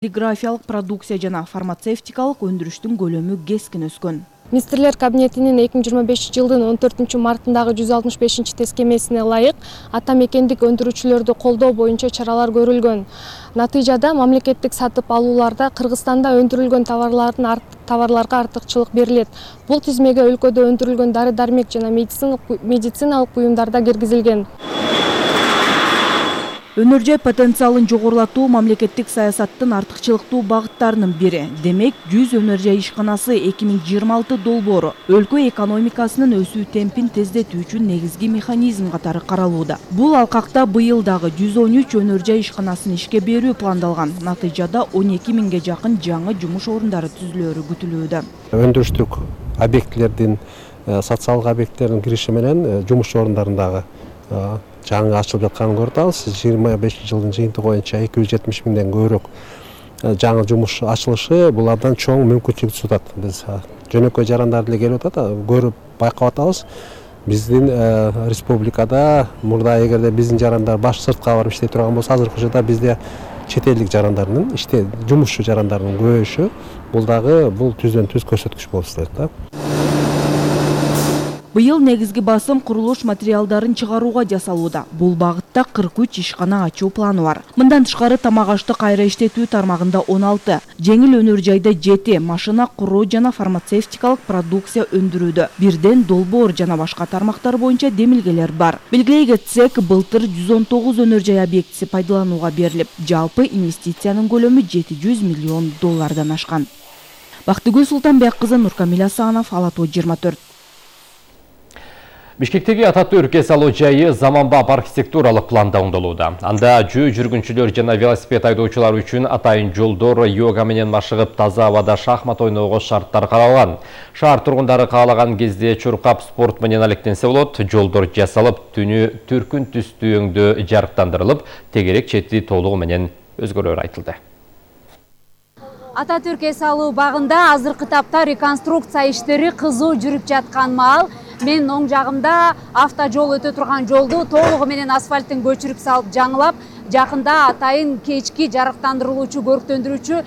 Полиграфиялык продукция жана фармацевтикалык өндүрүштүн көлөмү кескин өскөн. Министрлер кабинетинин 2025 жылдын 14 мартындагы 165 тескемесине ылайык ата мекендик өндүрүүчүлөрдү колдоо боюнча чаралар көрүлгөн. Натыйжада мамлекеттик сатып алууларда Кыргызстанда өндүрүлгөн товарларга артыкчылык берилет. Бул тизмеге өлкөдө өндүрүлгөн дары-дармек жана медициналык буюмдар да киргизилген. Өнөр жай потенциалын жогорулатуу мамлекеттик саясаттын артыкчылыктуу багыттарынын бири. Демек, 100 өнөр жай ишканасы 2026 долбоору өлкө экономикасынын өсүү темпин тездетүү үчүн негизги механизм катары каралууда. Бул алкакта быйыл дагы 113 өнөр жай ишканасын ишке берүү пландалган. Натыйжада 12 миңге жакын жаңы жумуш орундары түзүлөөрү күтүлүүдө. Өндүрүштүк объектлердин, социалдык объекттердин кириши менен жумуш орундарын жаңы ачылып жатканын көрүп атабыз. 25 жылдын жыйынтыгы боюнча 270 миңден көбүрөөк жаңы жумуш ачылышы булардан чоң мүмкүнчүлүк сунат. Биз жөнөкөй жарандар деле келип атат, көрүп байкап атабыз. Биздин республикада мурда эгерде биздин жарандар баш сыртка барып иштей турган болсо, азыркы учурда бизде чет элдик жарандардын жумушчу жарандардын көбөйүшү бул түздөн түз көрсөткүч болуп эсептелет да. Быйыл негизги басым курулуш материалдарын чыгарууга жасалууда. Бул багытта 43 ишкана ачуу планы бар. Мындан тышкары тамак ашты кайра иштетүү тармагында 16, жеңил өнөр жайда 7, машина куруу жана фармацевтикалык продукция өндүрүүдө бирден долбоор жана башка тармактар боюнча демилгелер бар. Белгилей кетсек, былтыр 119 өнөр жай объектиси пайдаланууга берилип, жалпы инвестициянын көлөмү 700 миллион доллардан ашкан. Бактыгүл Султанбек кызы, Нуркамил Асанов, Ала Тоо 24. Бишкектеги Ататүрк эс алуу жайы заманбап архитектуралык планда оңдолууда. Анда жүргүнчүлөр жана велосипед айдоочулар үчүн атайын жолдор, йога менен машыгып, таза абада шахмат ойноого шарттар каралган. Шаар тургундары каалаган кезде чуркап спорт менен алектенсе болот. Жолдор жасалып, түнү түркүн түстүү өңдө жарыктандырылып, тегерек чети толугу менен өзгөрөөр айтылды. Ататүрк эс алуу багында азыркы тапта реконструкция иштери кызуу жүрүп жаткан маал мен оң жагымда автожол өтө турган жолду толугу менен асфальттын көчүрүп салып жаңылап, жакында атайын кечки жарыктандырылуучу, көрктөндүрүүчү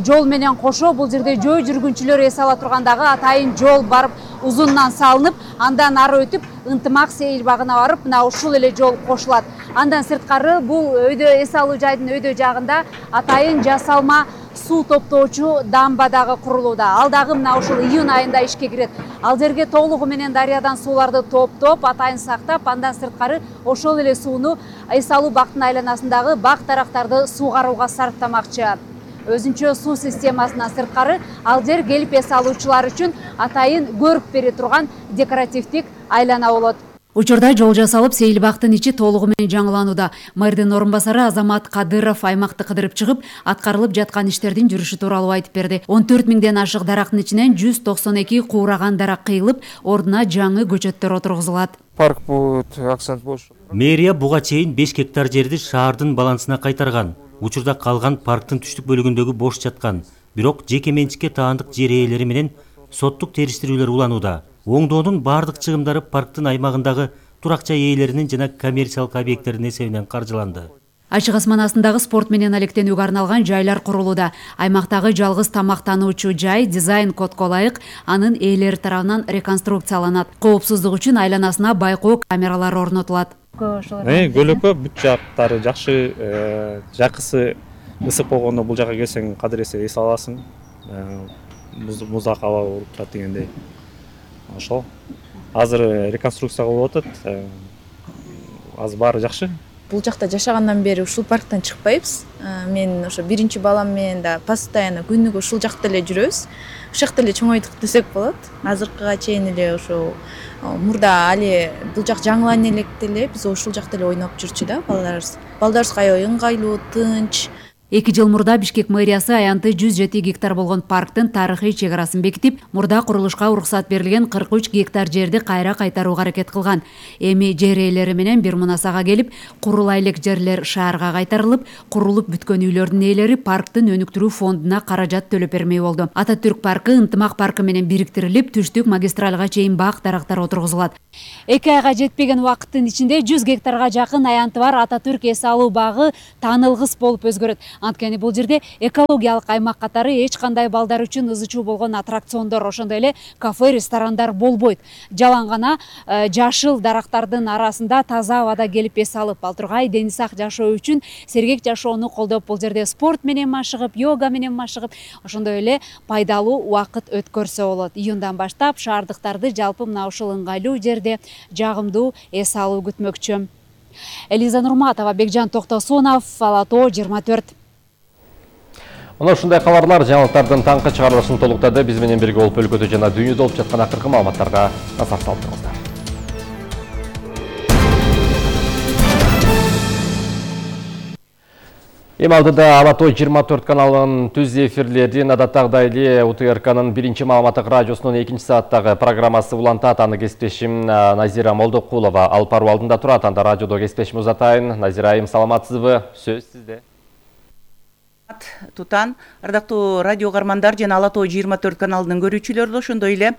жол менен кошо бул жерде жөө жүргүнчүлөр эс ала тургандагы атайын жол барып узундан салынып, андан ары өтүп Ынтымак сейил багына барып, мына ушул эле жол кошулат. Андан сырткары бул өйдө эс алуу жайдын өйдө жагында атайын жасалма суу топтоочу дамба дагы курулууда. Ал дагы мына ушул июнь айында ишке кирет. Ал жерге толугу менен дарыядан сууларды топтоп, атайын сактап, андан сырткары ошол эле сууну эс алуу бактын айланасындагы бак тарактарды суугарууга сарптамакчы. Өзүнчө суу системасынан сырткары ал жер келип эс алуучулар үчүн атайын көрүп бере турган декоративдик айлана болот. Учурда жол жасалып, Сейилбактын ичи толугу менен жаңыланууда. Мэрдин орун басары Азамат Кадыров аймакты кыдырып чыгып, аткарылып жаткан иштердин жүрүшү тууралуу айтып берди. 14 миңден ашык дарактын ичинен 192 куураган дарак кыйылып, ордуна жаңы көчөттөр отургузулат. Парк будет акцент больше. Мэрия буга чейин 5 гектар жерди шаардын балансына кайтарган. Учурда калган парктын түштүк бөлүгүндөгү бош жаткан, бирок жеке менчикке таандык жер ээлери менен соттук териштирүүлөр уланууда. Оңдоонун бардык чыгымдары парктын аймагындагы турак жай ээлеринин жана коммерциялык объекттердин эсебинен каржыланды. Ачык асман астындагы спорт менен алектенүүгө арналган жайлар курулууда. Аймактагы жалгыз тамактануучу жай дизайн кодго ылайык анын ээлери тарабынан реконструкцияланат. Коопсуздук үчүн айланасына байкоо камералары орнотулат. Көлөкө бүт жактары жакшы, жакысы ысык болгондо бул жака келсең кадыр эсе эс аласың. Музак аба болуп турат дегендей. Ошол. Азыр реконструкция болуп атат. Азыр баары жакшы. Бул жакта жашагандан бери ушул парктан чыкпайбыз. Мен ошо биринчи балам менен да постоянно күнүгө ушул жакта эле жүрөбүз. Ушул жакта эле чоңойдук десек болот. Азыркыга чейин эле ошо мурда али бул жак жаңылана электе эле биз ушул жакта эле ойноп жүрчү да балдарыбыз. Балдарыбызга аябай ыңгайлуу, тынч. 2 жыл мурда Бишкек мэриясы аянты 107 гектар болгон парктын тарыхый чек арасын бекитип, мурда курулушка уруксат берилген 43 гектар жерди кайра кайтарууга аракет кылган. Эми жер ээлери менен бир мунасага келип, курулай элек жерлер шаарга кайтарылып, курулуп бүткөн үйлөрдүн ээлери парктын өнүктүрүү фондуна каражат төлөп бермей болду. Ататүрк паркы Ынтымак паркы менен бириктирилип, түштүк магистралга чейин бак дарактар отургузулат. 2 айга жетпеген убакыттын ичинде 100 гектарга жакын аянты бар Ататүрк эс алуу багы таанылгыс болуп өзгөрөт. Анткени бул жерде экологиялык аймак катары эч кандай балдар үчүн ызы чуу болгон аттракциондор, ошондой эле кафе, ресторандар болбойт. Жалаң гана жашыл дарактардын арасында таза абада келип эс алып, Балтургай дени сак жашоо үчүн сергек жашоону колдоп, бул жерде спорт менен машыгып, йога менен машыгып, ошондой эле пайдалуу убакыт өткөрсө болот. Июндан баштап шаардыктарды жалпы мына ушул ыңгайлуу жерде жагымдуу эс алуу күтмөкчү. Элиза Нурматова, Бекжан Токтосунов, Ала Тоо 24. Мына ушундай кабарлар жаңылыктардын таңкы чыгарылышын толуктады. Биз менен бирге болуп өлкөдө жана дүйнөдө болуп жаткан акыркы маалыматтарга назар салдыңыздар. Эми алдыда Ала Тоо 24 каналынын түз эфирлерин адаттагыдай эле УТРКнын биринчи маалыматтык радиосунун 2 сааттагы программасы улантат. Аны кесиптешим Назира Молдокулова алып баруу алдында турат. Анда радиодо кесиптешим узатайын. Назира айым, саламатсызбы? Сөз сизде. Тутан, ардактуу радио кармандар жана Ала Тоо 24 каналынын көрүүчүлөрү, ошондой эле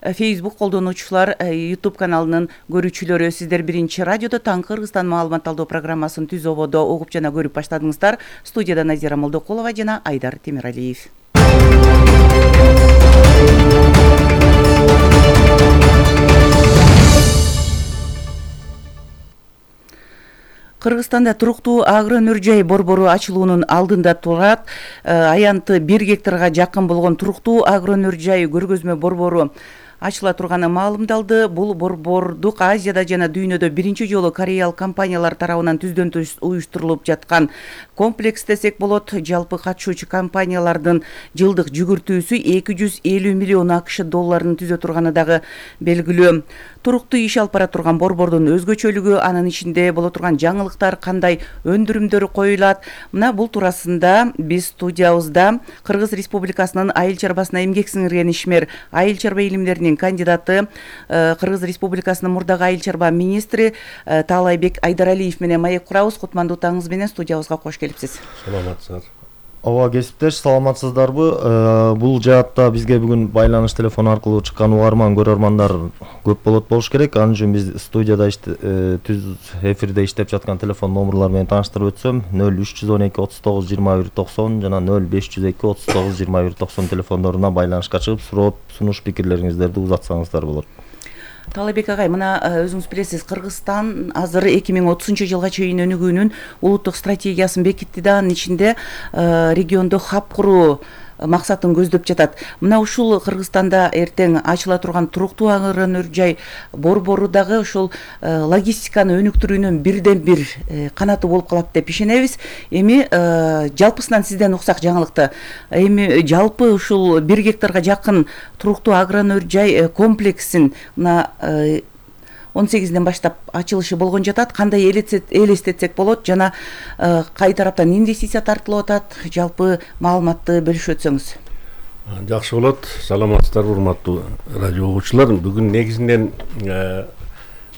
Facebook колдонуучулар, YouTube каналынын көрүүчүлөрү, сиздер биринчи радиодо таңкы Кыргызстан маалымат алуу программасын түз ободо угуп жана көрүп баштадыңыздар. Студияда Назира Молдокулова жана Айдар Темиралиев. Кыргызстанда туруктуу агроөнөр жай борбору ачылуунун алдында турат. Аянты 1 гектарга жакын болгон туруктуу агроөнөр жай көргөзмө борбору ачыла турганы маалымдалды. Бул борбордук Азияда жана дүйнөдө биринчи жолу кореялык компаниялар тарабынан түздөн түз уюштурулуп жаткан комплекс десек болот. Жалпы катышуучу компаниялардын жылдык жүгүртүүсү 250 миллион АКШ долларын түзө турганы дагы белгилүү. Туруктуу иш алып бара турган борбордун өзгөчөлүгү, анын ичинде боло турган жаңылыктар, кандай өндүрүмдөр коюлат. Мына бул туурасында биз студиябызда Кыргыз Республикасынын айыл чарбасына эмгек сиңирген ишмер, айыл чарба илимдеринин кандидаты, Кыргыз Республикасынын мурдагы айыл чарба министри Таалайбек Айдаралиев менен маек курабыз. Кутмандуу таңыңыз менен студиябызга кош келипсиз. Саламатсыздар. Ооба, кесиптеш, саламатсыздарбы? Бул жаатта бизге бүгүн байланыш телефону аркылуу чыккан угарман, көрөрмандар көп болот болуш керек. Ал үчүн биз студияда түз эфирде иштеп жаткан телефон номерлар менен тааныштырып өтсөм, 0312 39 21 90 жана 0502 39 21 90 телефондоруна байланышка чыгып, суроо, сунуш, пикирлериңиздерди узатсаңыздар болот. Таалайбек агай, мына өзүңүз билесиз, Кыргызстан азыр 2030-жылга чейин өнүгүүнүн улуттук стратегиясын бекитти да, анын ичинде региондо хаб куруу максатын көздөп жатат. Мына ушул Кыргызстанда эртең ачыла турган туруктуу агроөнөр жай борбору дагы ушул логистиканы өнүктүрүүнүн бирден бир канаты болуп калат деп ишенебиз. Эми жалпысынан сизден уксак жаңылыкты. Эми жалпы ушул 1 гектарга жакын туруктуу агроөнөр жай комплексин мына 18-ден баштап ачылышы болгон жатат. Кандай элестетсек болот жана кай тараптан инвестиция тартылып атат, жалпы маалыматты бөлүшүп өтсөңүз. Жакшы болот. Саламатсыздарбы, урматтуу радио угуучулар. Бүгүн негизинен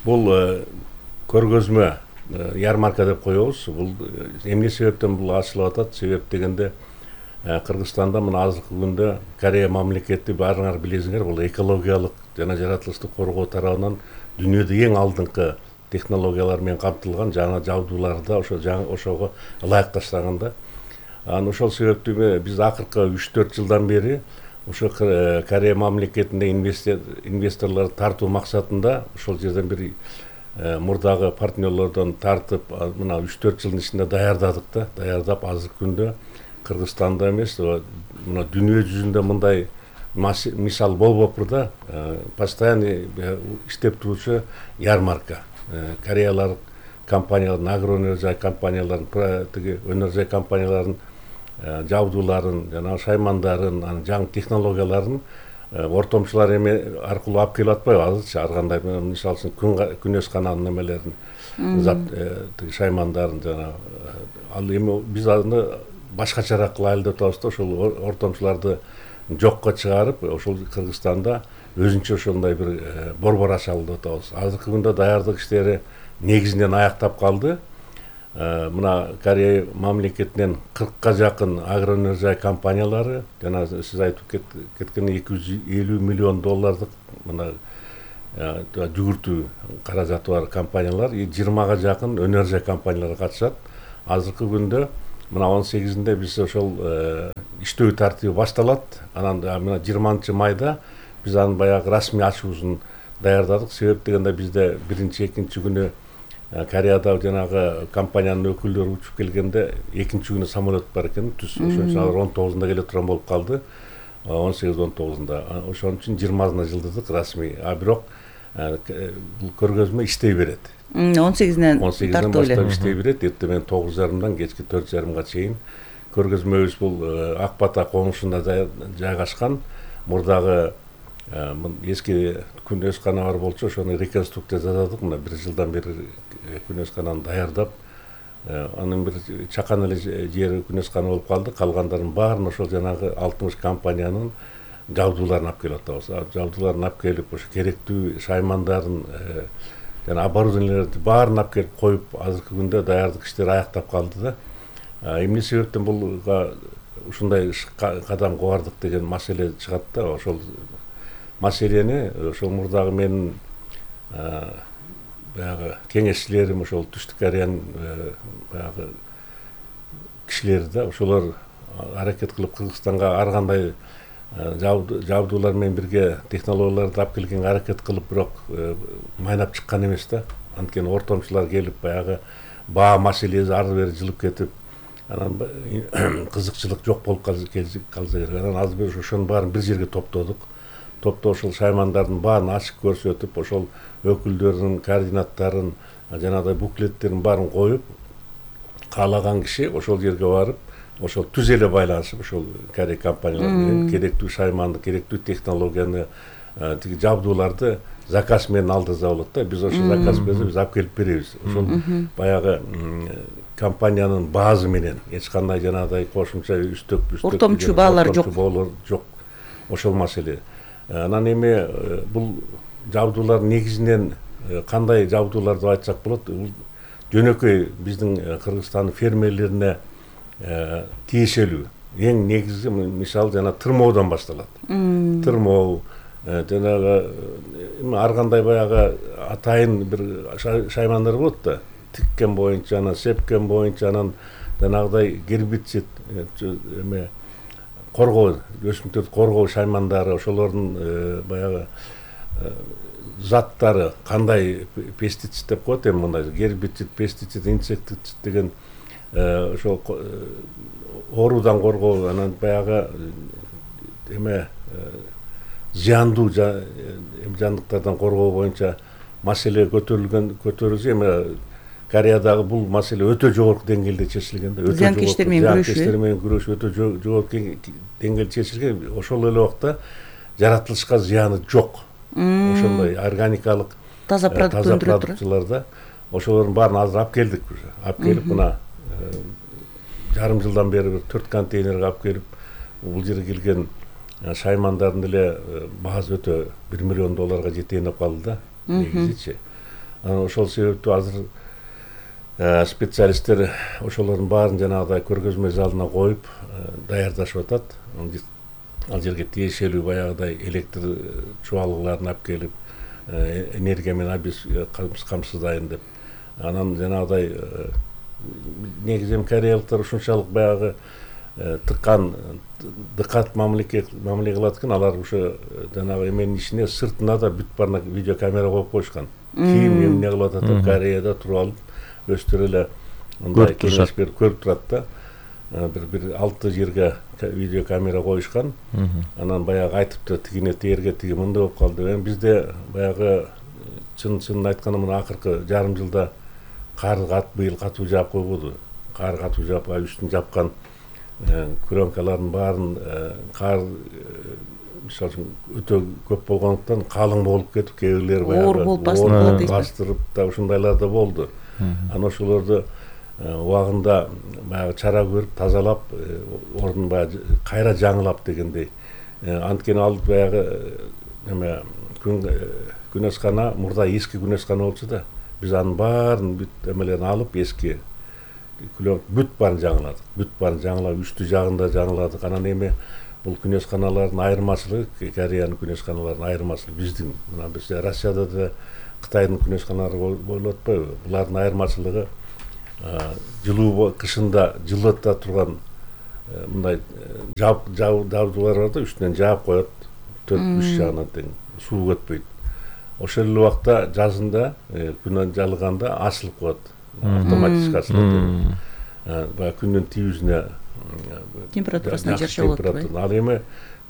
бул көргөзмө ярмарка деп коебуз. Бул эмне себептен бул ачылып атат? Себеп дегенде Кыргызстанда мына азыркы күндө Корея мамлекети, баарыңар билесиңер, бул экологиялык жана жаратылышты коргоо тарабынан дүйнөдө эң алдыңкы технологиялар менен камтылган жаңа жабдууларды ошого ылайыкташтаганда. Ошол себептүү биз акыркы 3-4 жылдан бери ошо Корея мамлекетине инвесторлорду тартуу максатында ошол жерден бир мурдагы партнерлордон тартып, мына 3-4 жылдын ичинде даярдап азыркы күндө Кыргызстанда эмес, мына дүйнө жүзүндө мындай мисал болбоптур да, постоянно иштеп турчу ярмарка. Кореялык компаниялардын, агроөнөр жай компаниялардын, тиги өнөр жай компаниялардын жабдууларын, жана шаймандарын, анын жаңы технологияларын ортомчулар эме аркылуу алып келип атпайбы? Азырчы ар кандай, мисалы үчүн күнөс каналынын немелерин, тиги шаймандарын жана ал эми биз аны башкачараак кылайлы деп атабыз да, ошол ортомчуларды жокко чыгарып, ошол Кыргызстанда өзүнчө ошондой бир борбор ачалы деп атабыз. Азыркы күндө даярдык иштери негизинен аяктап калды. Мына Корея мамлекетинен 40-ка жакын агроөнөр жай компаниялары, жана сиз айтып кеткен 250 миллион доллардык мына жүгүртүү каражаты бар компаниялар, 20-га жакын өнөр жай компаниялар катышат. Азыркы күндө мына 18-inde биз ошол иштөө тартиби башталат. Анан мына 20 майда биз анын баягы расмий ачуусун даярдадык. Себеп дегенде бизде 1-2 күнү Кореяда жанагы компаниянын өкүлдөрү учуп келгенде 2 күнү самолет бар экен. Ошон үчүн алар 19-да келе турган болуп калды. 18-19-да. Ошон үчүн 20-сына жылдырдык расмий. Бирок бул көргөзмө иштей берет. 18-ден тартып баштап иштей берет. Эртең 9:30-дан кечки 4:30-га чейин. Көргөзмөбүз бул Ак Бата конушунда жайгашкан. Мурдагы эски күнөскана бар болчу, ошону реконструкция жасадык. Мына 1 жылдан бери күнөскананы даярдап, анын бир чакан эле жери күнөскана болуп калды. Калгандарын баарын ошол жанагы 60 компаниянын жабдууларын алып келип атабыз. Жабдууларын алып келип, ошо керектүү шаймандарын жана оборудованиелерди баарын алып келип коюп, азыркы күндө даярдык иштери аяктап калды да. Эмне себептен булга ушундай кадам кубардык деген маселе чыгат да. Ошол маселени ошол мурдагы менин баягы кеңешчилерим, ошол Түштүк Кореянын баягы кишилери да, ошолор аракет кылып Кыргызстанга ар кандай жабдуулар менен бирге технологияларды алып келгенге аракет кылып, бирок майнап чыккан эмес да. Анткени ортомчулар келип баягы баа маселеси ары бери жылып кетип, анан кызыкчылык жок болуп калса керек. Анан азыр биз ошонун баарын бир жерге топтодук. Ошол шаймандардын баарын ачык көрсөтүп, ошол өкүлдөрдүн координаттарын, жанагыдай буклеттерин баарын коюп, каалаган киши ошол жерге барып, ошол түз эле байланышып, ошол Корея компаниялары менен керектүү шайманды, керектүү технологияны, тиги жабдууларды заказ менен алдырса болот да. Биз ошол заказ берсе, биз алып келип беребиз. Ошол баягы компаниянын баазы менен эч кандай жанагыдай кошумча үстөк ортомчу баалар жок. Ошол маселе. Анан эми бул жабдуулар негизинен кандай жабдуулар деп айтсак болот? Бул жөнөкөй биздин Кыргызстандын фермерлерине тиешелүү. Эң негизи мисалы жана тырмоодон башталат. Тырмоо, жанагы ар кандай баягы атайын бир шаймандар болот да. Тиккен боюнча, анан сепкен боюнча, анан жанагыдай гербицид, эме коргоо, өсүмдүктөрдү коргоо шаймандары, ошолордун баягы заттары кандай пестицид деп коет, эми мындай гербицид, пестицид, инсектицид деген ошол оорудан коргоо, анан баягы эме зыяндуу жандыктардан коргоо боюнча маселе көтөрүлсө, эми Кореядагы бул маселе өтө жогорку деңгээлде чечилген да. Зыянкечтер менен күрөшүү өтө жогорку деңгээлде чечилген. Ошол эле убакта жаратылышка зыяны жок. Ошондой органикалык таза продукцияларда ошолордун баарын азыр алып келдик. Алып келип, мына жарым жылдан бери бир 4 контейнерге алып келип, бул жерге келген шаймандардын эле баасы өтө $1 миллион жетейин деп калды да. Негизичи. Анан ошол себептүү азыр специалисттер ошолордун баарын жанагыдай көргөзмө залына коюп даярдашып атат. Ал жерге тиешелүү баягыдай электр чубалгыларын алып келип, энергия менен биз камсыздайын деп. Анан жанагыдай негизи кореялыктар ушунчалык баягы тыккан дыкат мамиле кылат экен. Алар ошо жанагы эменин ичине сыртына да бүт баарына видеокамера коюп коюшкан. Ким эмне кылып атат, Кореяда туруп алып өстөр эле мындай кеңеш берип көрүп турат да. Бир 6 жерге видеокамера коюшкан. Анан баягы айтыптыр, тигине тээрге тиги мындай болуп калды. Эми бизде баягы чынын айтканда мына акыркы жарым жылда кар быйыл катуу жаап койбоду. Кар катуу жаап, үстүн жапкан крёнкалардын баарын кар мисалы үчүн өтө көп болгондуктан калың болуп кетип, кээ бирлери баягы бастырып да ушундайлар да болду. Анан ошолорду убагында баягы чара көрүп, тазалап, ордун баягы кайра жаңылап дегендей. Анткени ал баягы эме күнөскана мурда эски күнөскана болчу да. Биз анын баарын бүт эмелерин алып, эски бүт баарын жаңыладык. Бүт баарын жаңылап, үстү жагында жаңыладык. Анан эми бул күнөсканалардын айырмачылыгы, Кореянын күнөсканаларынын айырмачылыгы биздин. Мына биз Россияда да Кытайдын күнөсканалары болуп атпайбы? Булардын айырмачылыгы жылуу кышында жылыта турган мындай жабдуулар бар да, үстүнөн жаап коет, 4-3 жагынан тең суу өтпөйт. Ошол эле убакта жазында күнөн жалганда ачылып коет, автоматически ачылат. Баягы күндүн тийүүсүнө температурасына жараша болот. Ал эми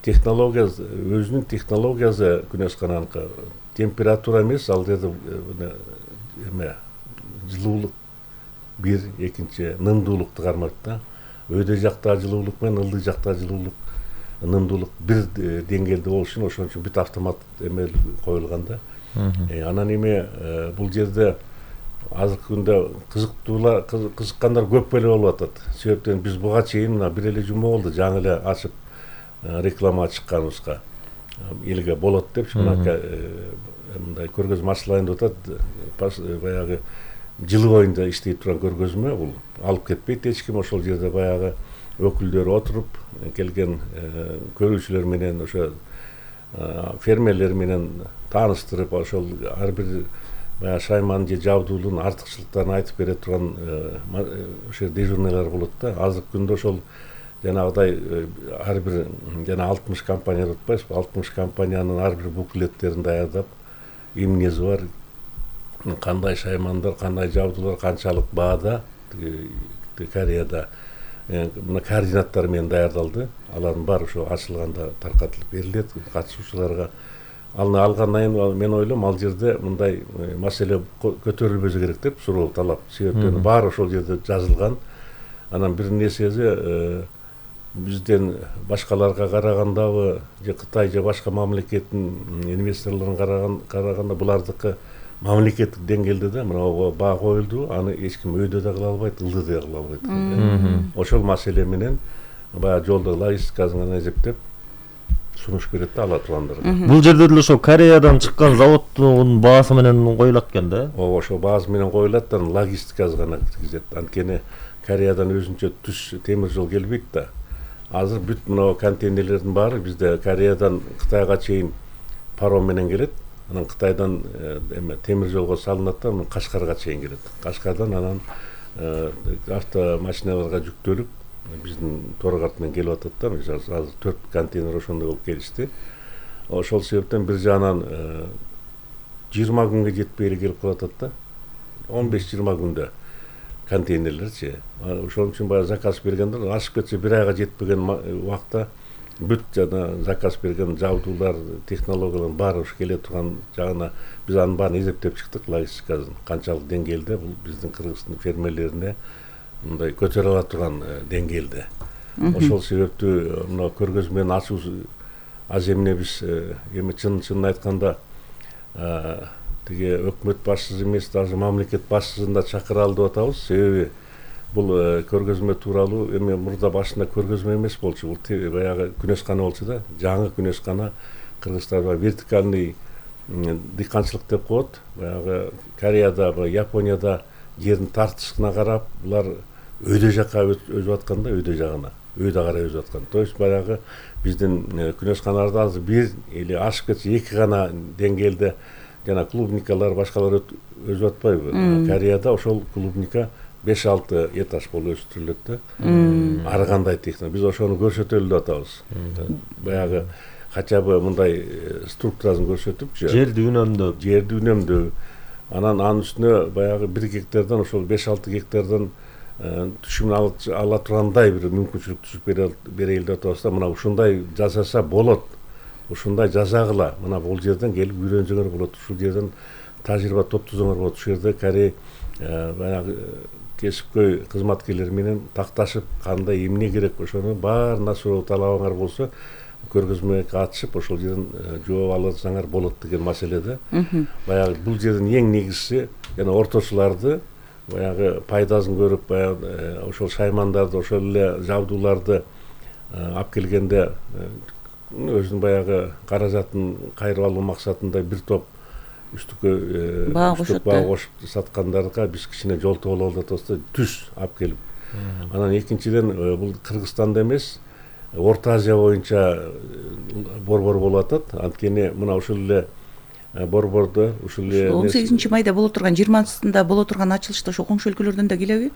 технология, өзүнүн технологиясы күнөскананыкы температура эмес, ал жерде эме жылуулук бир, экинчи нымдуулукту кармайт да. Өйдө жактагы жылуулук менен ылдый жактагы жылуулук, нымдуулук бир деңгээлде болуш үчүн ошон үчүн бүт автомат эме коюлган да. Анан эме бул жерде азыркы күндө кызыккандар көп эле болуп атат. Себептен биз буга чейин мына бир эле жума болду, жаңы эле ачып реклама чыкканыбызга. Элге болот депчи, мындай көргөзмө ачылайын деп атат. Баягы жылы боюнда иштей турган көргөзмө, бул алып кетпейт эч ким. Ошол жерде баягы өкүлдөр отуруп, келген көрүүчүлөр менен, ошо фермерлер менен тааныштырып, ошол ар бир шайман же жабдуулун артыкчылыктарын айтып бере турган ошо дежурныйлар болот да. Азыркы күндө ошол жанагыдай ар бир жана 60 компания деп атпайсызбы, 60 компаниянын ар бир буклеттерин даярдап, эмнеси бар, кандай шаймандар, кандай жабдуулар канчалык баада Кореяда мына координаттар менен даярдалды. Алардын баары ошо ачылганда таркатылып берилет катышуучуларга. Алны алгандан кийин мен ойлойм, ал жерде мындай маселе көтөрүлбөсө керек деп суроо талап. Себептен баары ошол жерде жазылган. Анан бир нерсеси бизден башкаларга карагандабы, же Кытай же башка мамлекеттин инвесторлорун караганда булардыкы мамлекеттик деңгээлде да мына баа коюлду, аны эч ким өйдө да кыла албайт, ылдыда да кыла албайт. Ошол маселе менен баягы жолдо логистикасын эсептеп сунуш берет да ала тургандарга. Бул жерде деле ошо Кореядан чыккан заводдун баасы менен коюлат экен да. Ооба, ошо баасы менен коюлат да, логистикасы гана киргизет. Анткени Кореядан өзүнчө түз темир жол келбейт да. Азыр бүт мына контейнерлердин баары бизде Кореядан Кытайга чейин паром менен келет. Анан Кытайдан темир жолго салынат да, Кашкарга чейин келет. Кашкардан анан автомашиналарга жүктөлүп биздин торгарт менен келип атат да. Азыр 4 контейнер ошондой болуп келишти. Ошол себептен бир жагынан 20 күнгө жетпей эле келип калып атат да. 15-20 күндө контейнерлерчи. Ошон үчүн баягы заказ бергендер ашып кетсе бир айга жетпеген убакта бүт жана заказ берген жабдуулар, технологиялар баары ушу келе турган жагына биз анын баарын эсептеп чыктык, логистикасын канчалык деңгээлде бул биздин Кыргыздын фермерлерине мындай көтөрө ала турган деңгээлде. Ошол себептүү мына көргөзмөнүн ачуу аз эмне биз эми чынын айтканда тиги өкмөт башчысы эмес, даже мамлекет башчысын да чакыралы деп атабыз. Себеби бул көргөзмө тууралуу эми мурда башында көргөзмө эмес болчу, бул баягы күнөскана болчу да. Жаңы күнөскана Кыргызстанда вертикальный дыйканчылык деп коет. Баягы Кореяда, Японияда жердин тартышына карап, булар өйдө жакка өзүп аткан да, өйдө жагына. Өйдө карай өзүп аткан. То есть баягы биздин күнөсканаларда азыр бир или ашып кетсе 2 гана деңгээлде жана клубникалар, башкалар өзүп атпайбы? Кореяда ошол клубника 5-6 этаж болуп өстүрүлөт да. Ар кандай техника. Биз ошону көрсөтөлү деп атабыз. Баягы хотя бы мындай структурасын көрсөтүпчү. Жерди үнөмдөө. Анан анын үстүнө баягы 1 гектардан ошол 5-6 гектардан түшүмүн ала тургандай бир мүмкүнчүлүк түзүп берейли деп атабыз да. Мына ушундай жасаса болот. Ушундай жасагыла. Мына бул жерден келип үйрөнсөңөр болот. Ушул жерден тажрыйба топтосоңор болот. Ушул жерде Корея баягы кесипкөй кызматкерлер менен такташып, кандай эмне керек ошону баарына суроо талабыңар болсо, көргөзмөгө катышып, ошол жерден жооп алсаңар болот деген маселеде. Баягы бул жердин эң негизгиси жана орточуларды баягы пайдасын көрүп, баягы ошол шаймандарды, ошол эле жабдууларды алып келгенде өзүнүн баягы каражатын кайрып алуу максатында бир топ үстүккө баа кошуп саткандарга биз кичине жолтоо бололу деп атабыз да, түз алып келип. Анан экинчиден бул Кыргызстанда эмес, Орто Азия боюнча борбор болуп атат. Анткени мына ушул эле борбордо ушул 18 майда боло турган 20-сында боло турган ачылышта ошо коңшу өлкөлөрдөн да келеби?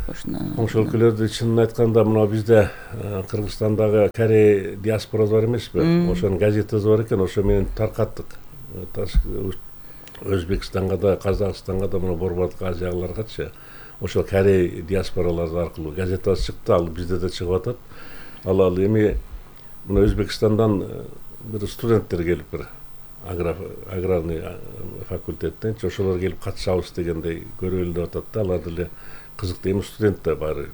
Коңшу өлкөлөрдө чынын айтканда мына бизде Кыргызстандагы корей диаспорасы бар эмеспи? Ошонун газетасы бар экен, ошо менен таркаттык. Өзбекстанга да, Казакстанга да, мына борбордук Азияларгачы ошол корей диаспоралары аркылуу газетасы чыкты, ал бизде да чыгып атат. Ал эми мына Өзбекстандан бир студенттер келип бир аграрный факультеттен ошолор келип катышабыз дегендей көрөлү деп атат да. Алар деле кызыктуу, эми студент да бар.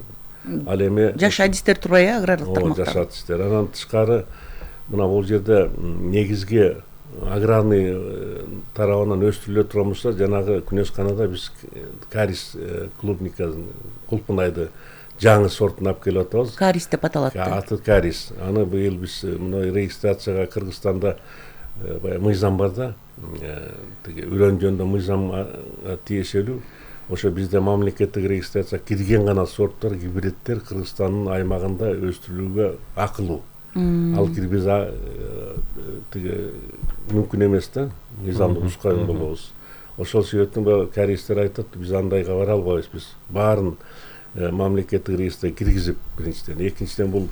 Ал эми жаш адистер турбайбы аграрлык тармакта? Жаш адистер. Анан тышкары мына бул жерде негизги аграрный тарабынан өстүрүлө турган болсо, жанагы Күнөсканада биз карис клубникасын, кулпунайды жаңы сортун алып келип атабыз. Карис деп аталат. Аты карис. Аны быйыл биз мына регистрацияга Кыргызстанда мыйзам бар да, тиги үрөн жөнүндө мыйзам тиешелүү. Ошо бизде мамлекеттик регистрация кирген гана сорттор, гибридтер Кыргызстандын аймагында өстүрүлүүгө акылуу. Ал кирбиз тиги мүмкүн эмес да, мыйзамды бузган болобуз. Ошол себептен каристер айтат, биз андайга бара албайбыз, биз баарын мамлекеттик регистрге киргизип, биринчиден. Экинчиден бул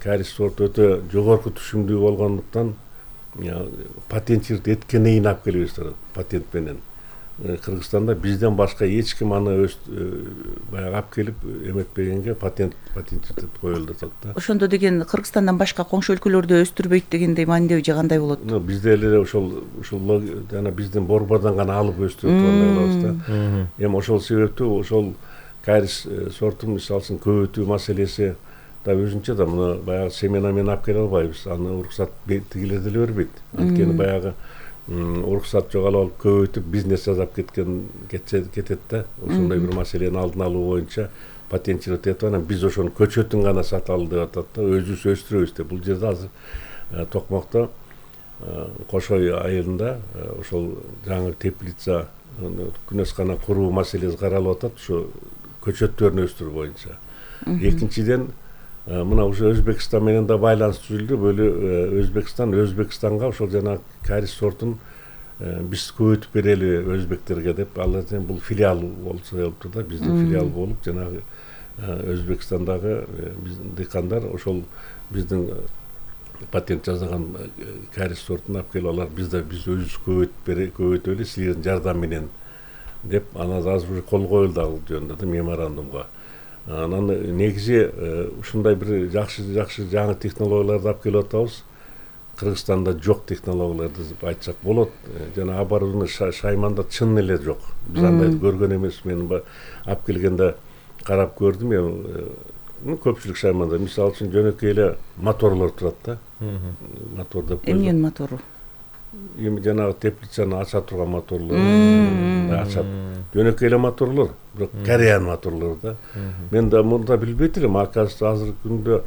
карис сорт өтө жогорку түшүмдүү болгондуктан патенттирт эткенен алып келебиз, патент менен. Кыргызстанда бизден башка эч ким аны баягы алып келип эметпегенге патенттеп коюлду атат да. Ошондо деген Кыргызстандан башка коңшу өлкөлөрдө өстүрбөйт дегендей маанидеби же кандай болот? Бизде эле ошол жана биздин борбордон гана алып өстүрүп тургандай болобуз да. Эми ошол себептүү ошол карис сортун мисалы үчүн көбөйтүү маселеси да өзүнчө да мына баягы семена менен алып келе албайбыз. Аны уруксат тигилер деле бербейт. Анткени баягы уруксат жоголуп алып көбөйтүп бизнес жасап кетет да. Ошондой бир маселени алдын алуу боюнча патенттеп атат. Анан биз ошонун көчөтүн гана саталы деп атат да. Өзүбүз өстүрөбүз деп. Бул жерде азыр Токмокто Кошой айылында ошол жаңы теплица күнөскана куруу маселеси каралып атат. Ошо көчөттөрүн өстүрүү боюнча. Экинчиден мына уже Өзбекстан менен да байланыш түзүлдү. Өзбекстанга ошол жана карис сортун биз көбөйтүп берели өзбектерге деп, алардын бул филиал болсо болуптур да, биздин филиал болуп, жанагы Өзбекстандагы биздин дыйкандар ошол биздин патент жасаган карис сортун алып келип алар, биз өзүбүз көбөйтөлү силердин жардам менен деп, анан азыр уже кол коюлду ал жөнүндө да меморандумга. Анан негизи ушундай бир жакшы жаңы технологияларды алып келип атабыз. Кыргызстанда жок технологияларды деп айтсак болот. Жана оборудование Шайманда чын эле жок. Биз андайды көргөн эмес. Мен алып келгенде карап көрдүм. Көпчүлүк Шайманда мисалы үчүн жөнөкөй эле моторлор турат да. Мотор деп коет. Эмненин мотору? Эми жанагы теплицаны ача турган моторлор, ачат. Жөнөкөй эле моторлор, бирок Кореянын моторлору да. Мен да мурда билбейт элем, оказывается азыркы күндө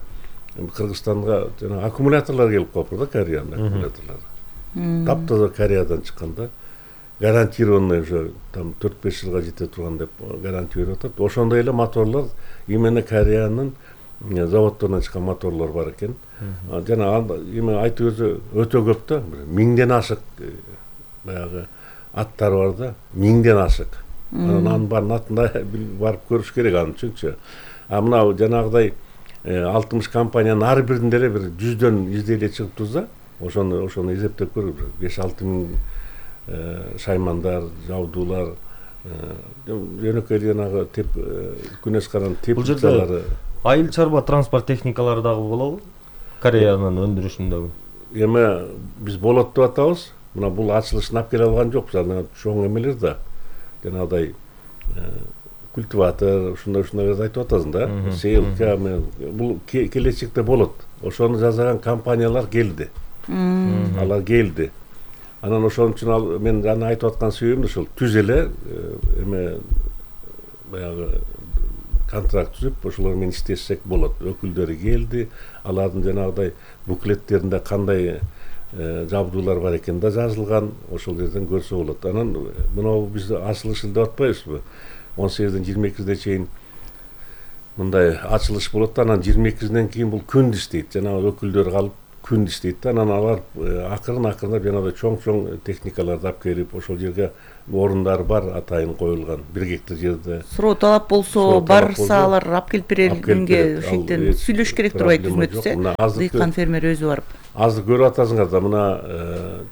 Кыргызстанга жана аккумуляторлор келип калыптыр да, Кореянын аккумуляторлору. Таптаза Кореядан чыккан да. Гарантированный уже там 4-5 жылга жете турган деп гарантия берип атат. Ошондой эле моторлор именно Кореянын заводдорунан чыккан моторлор бар экен. Жана эми айтып өзү өтө көп да, 1000ден ашык баягы аттар бар да, 1000ден ашык. Анан баарын атында барып көрүш керек аны үчүнчү. Мына жанагыдай 60 компаниянын ар биринде эле бир 100дөн изделие чыгып турса, ошону эсептеп көрүп 5-6 миң шаймандар, жабдуулар, жөнөкөй жанагы күнөскананын теплицалары. Айыл чарба транспорт техникалары дагы болобу? Кореянын өндүрүшүндөгү. Эми биз болот деп атабыз. Мына бул ачылышын алып келе алган жокпуз. Анан чоң эмелер да. Жанагыдай культиватор, ушундай айтып атасың да. Сейлка, бул келечекте болот. Ошону жасаган компаниялар келди. Алар келди. Анан ошон үчүн мен жана айтып аткан себебим ошол түз эле эме баягы контракт түзүп, ошолор менен иштешсек болот. Өкүлдөрү келди, алардын жанагыдай буклеттеринде кандай жабдуулар бар экен да жазылган, ошол жерден көрсө болот. Анан мына биз ачылыш деп атпайбызбы? 18-ден 22-ге чейин мындай ачылыш болот да, анан 22-ден кийин бул күндү иштейт. Жанагы өкүлдөр калып, күн иштейт да. Анан алар акырындап жанагы чоң техникаларды алып келип ошол жерге орундар бар, атайын коюлган 1 гектар жерде. Суроо талап болсо барса алар алып келип бергенге ошентен сүйлөш керек турбайбы түзмөтүсө? Дыйкан фермер өзү барып. Азыр көрүп атасыңар да, мына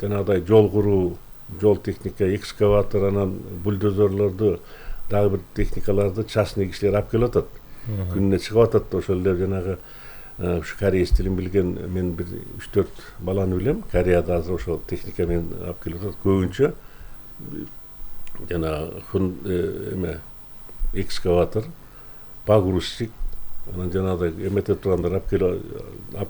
жанагыдай жол куруу, жол техника, экскаватор, анан бульдозерлорду, дагы бир техникаларды частный кишилер алып келип атат. Күнүнө чыгып атат. Ошол эле жанагы ушу кореец тилин билген мен бир 3-4 баланы билем. Кореяда азыр ошол техника менен алып келип атат. Көбүнчө жана экскаватор, погрузчик, анан жанагыдай эметип тургандар алып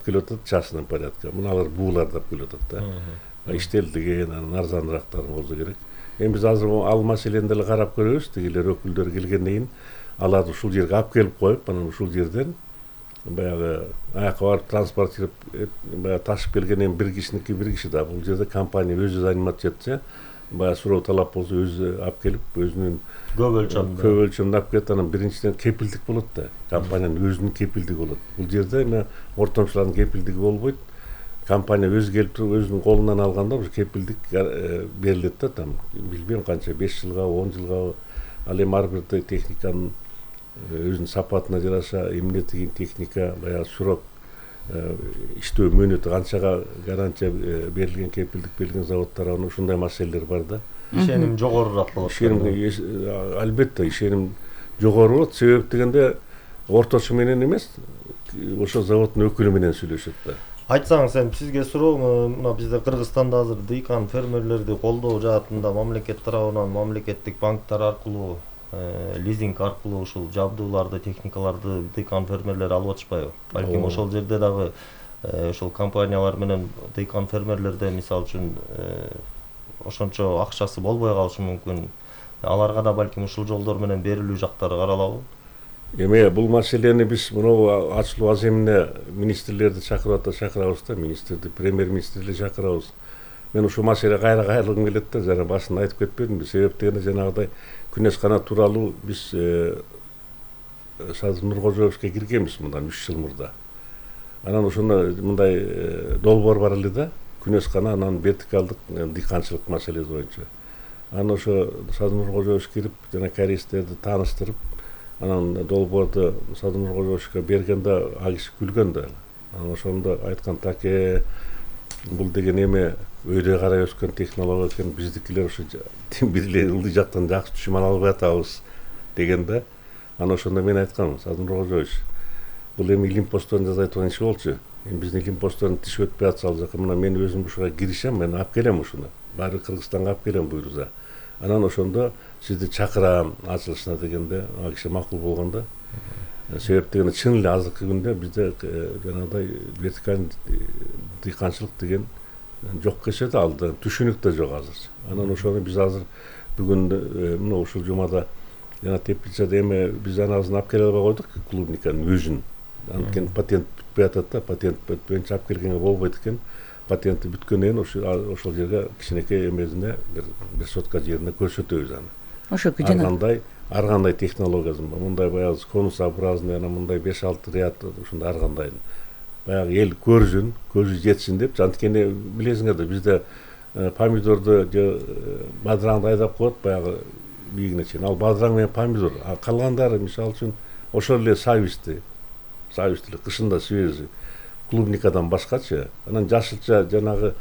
келип атат частный порядка. Муналар бууларды алып келип атат да. Иштелдиген, анан арзаныраактары болсо керек. Эми биз азыр ал маселени деле карап көрөбүз. Тигилер өкүлдөр келгенден кийин аларды ушул жерге алып келип коюп, анан ушул жерден баягы аяка барып транспортируп баягы ташып келгенден бир киши да. Бул жерде компания өзү заниматься этсе, баягы суроо талап болсо өзү алып келип, өзүнүн көп өлчөмдө алып келет. Анан биринчиден кепилдик болот да. Компаниянын өзүнүн кепилдиги болот. Бул жерде эми ортомчулардын кепилдиги болбойт. Компания өзү келип туруп өзүнүн колунан алганда ушу кепилдик берилет да, там билбейм канча 5 жылга, 10 жылга. Ал эми ар бир техниканын өзүнүн сапатына жараша эмне деген техника, баягы срок, иштөө мөөнөтү канчага гарантия берилген, кепилдик берилген заводдор, ушундай маселелер бар да. Ишеним жогорураак болот. Албетте ишеним жогору болот. Себеп дегенде орточу менен эмес, ошол заводдун өкүлү менен сүйлөшөт да. Айтсаңыз, эми сизге суроо, мына бизде Кыргызстанда азыр дыйкан фермерлерди колдоо жаатында мамлекет тарабынан мамлекеттик банктар аркылуу, лизинг аркылуу ушул жабдууларды, техникаларды дыйкан фермерлер алып атышпайбы? Балким ошол жерде дагы ошол компаниялар менен дыйкан фермерлерде мисалы үчүн ошончо акчасы болбой калышы мүмкүн. Аларга да балким ушул жолдор менен берилүү жактары каралабы? Эми бул маселени биз мына ачылуу аземине министрлерди чакырабыз да, министрди, премьер-министрди чакырабыз. Мен ушул маселе кайрылгым келет да, жана башында айтып кетпедимби? Себеп дегенде жанагыдай Күнөс канат тууралуу биз Садыр Нуркожоевичке киргенбиз мындан 3 жыл мурда. Анан ошондо мындай долбоор бар эле да, Күнөс кана, анан вертикалдык дыйканчылык маселеси боюнча. Анан ошо Садыр Нуркожоевич кирип, жана кореецтерди тааныштырып, анан долбоорду Садыр Нуркожоевичке бергенде ал киши күлгөн да. Анан ошондо айткан, таке бул деген эме өйдө карай өскөн технология экен, биздикилер ошо бир эле ылдый жактан жакшы түшүм ала албай атабыз деген да. Анан ошондо мен айткам, Садыр Нуркожоевич, бул эми илимпосттордун жасай турган иши болчу. Эми биздин илимпосттордун тиши өтпөй атса ал жака, мына мен өзүм ушуга киришем, мен алып келем ушуну. Баары Кыргызстанга алып келем буйруза. Анан ошондо сизди чакырам ачылышына дегенде, ал киши макул болгондо. Себеп дегенде чын эле азыркы күндө бизде жанагыдай вертикалдык дыйканчылык деген жок кешет, ал да түшүнүк да жок азыр. Анан ошону биз азыр бүгүн мына ушул жумада жана Теплицада эми биз анасын алып келе албай койдук, клубниканын өзүн. Анткени патент бүтпөй атат да, патент бүтпөйүнчө алып келгенге болбойт экен. Патенти бүткөндөн кийин ошол жерге кичинекей эмесине бир сотка жерине көрсөтөбүз аны. Ошоку ар кандай технологиясын бар. Мындай баягы конусообразный, анан мындай 5-6 ряд ушундай ар кандай. Баягы эл көрсүн, көзү жетсин деп. Анткени билесиңер да, бизде помидорду бадыраңды айдап коет баягы бийигине чейин. Ал бадыраң менен помидор, а калгандары мисалы үчүн ошол эле сависти эле кышында свежий. Клубникадан башкачы. Анан жашылча жанагы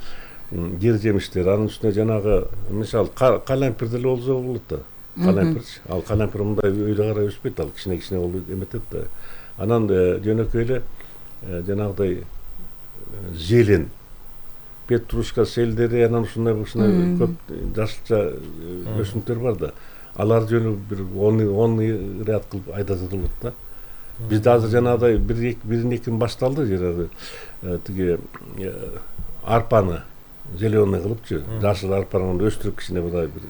жер жемиштер, анын үстүнө жанагы мисалы калампир деле болсо болот да. Калампирчи. Ал калампир мындай өйдө карай өспөйт, ал кичине болуп эметет да. Анан жөнөкөй эле жанагыдай зелен, петрушка селдери, анан ушундай көп жашылча өсүмдүктөр бар да. Алар жөнү бир 10 ряд кылып айдаса болот да. Бизде азыр жанагыдай бирин-экин башталды, жанагы тиги арпаны зеленый кылыпчы, жашыл арпаны өстүрүп кичине мындай бир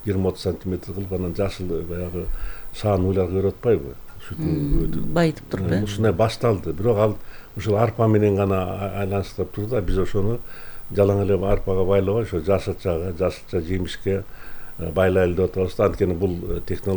20-30 сантиметр кылып, анан жашыл баягы саан уйларга көрүп атпайбы? Сүтүн байытып туруп, ушундай башталды. Бирок ал ушул арпа менен гана айланыштырып турду да, биз ошону жалаң эле арпага байлабай, ошо жашылча жемишке байлайлы деп атабыз да. Анткени бул технология